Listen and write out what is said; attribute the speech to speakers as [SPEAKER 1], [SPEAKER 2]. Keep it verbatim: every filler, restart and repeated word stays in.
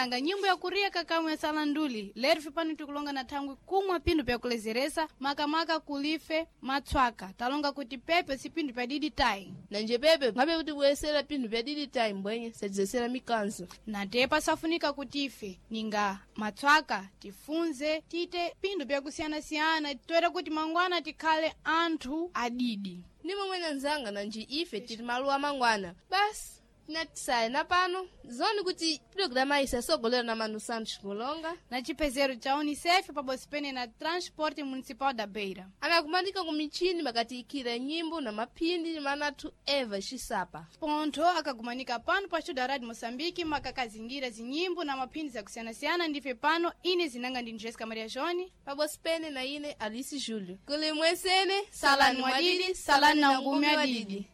[SPEAKER 1] Anzanga, nyimbo ya kuria kakamwe ya salanduli lero fipano tikulonga na thangwi kumwa pindu pyakulezeresa makamaka kulife matswaka talonga kuti pepe si pindu pya didi tayi.
[SPEAKER 2] Nanje pepe ngabe kuti kuyesera pinthu pya didi tayi mbwenye satizesera mikanzo.
[SPEAKER 1] Na tepa safunika kuti ife ninga matswaka tifunze tite pindu pyakusiyanasiyana toera kuti mangwana tikhale anthu adidi.
[SPEAKER 2] Ndi momwe nanzanga, nanji ife tili maluwa mangwana basi tinatisaya na pano zoni kuti programa isa sogolera na Manu Santos Kulonga
[SPEAKER 1] na chipezero cha UNICEF pabodzi pene na Transporte Municipal da Beira.
[SPEAKER 2] Anakumanika ku michini makatiyikira nyimbo na maphindi manathu Eva Xisapa.
[SPEAKER 1] Pontho akagumanika pano pa studio Radio Moçambique makakazingira zinyimbo na maphindi zakusiyanasiyana. Ndife pano ine zinanga ndi Jessica Maria Joni
[SPEAKER 2] pabodzi pene na ine Alice Júlio. Kuli mwesene.
[SPEAKER 1] Salani mwadidi, salani na ngumi adidi.